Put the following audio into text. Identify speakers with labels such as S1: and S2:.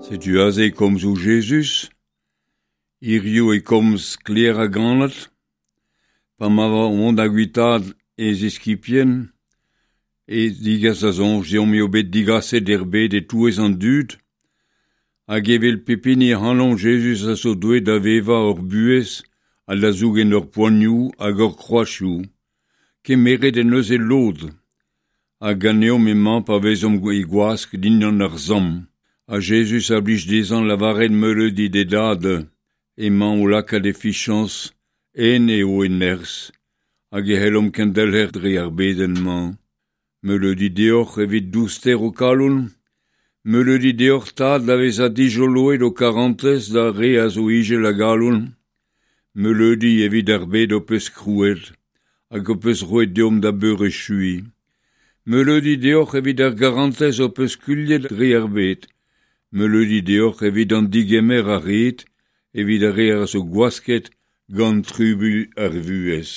S1: Setu aze komzoù Jezuz. Hiziv e komz sklaer hag anat. Pa ma oa o vont da guitaat e ziskibien e degas da soñj deomp eo bet degaset er bed e-touez an dud hag evel pep hini ac'hanomp Jezuz a zo deuet da vevañ hor buhez ha da zougen hor poanioù hag hor kroazioù. Kemeret en deus e lod ha ganeomp emañ pa vezomp e gwask dindan ar samm. Ha Jezuz a blij dezhañ lavaret meuleudi d'e dad emañ o lakaat e fiziañs en eo e nerzh hag e c'hellomp kendelc'her dre ar bedenn-mañ. Meuleudi deoc'h evit douster ho kalon. Meuleudi deoc'h Tad da vezañ dijoloet ho karantez d'ar re a zo izel a galon. Meuleudi evit ar bed ho peus krouet hag ho peus roet deomp da beurechuiñ. Meuleudi deoc'h evit ar garantez ho peus skuilhet dre ar bed. Meuleudi deoc'h evit an digemer a rit evit ar re a zo gwasket gant trubuilh ar vuhez.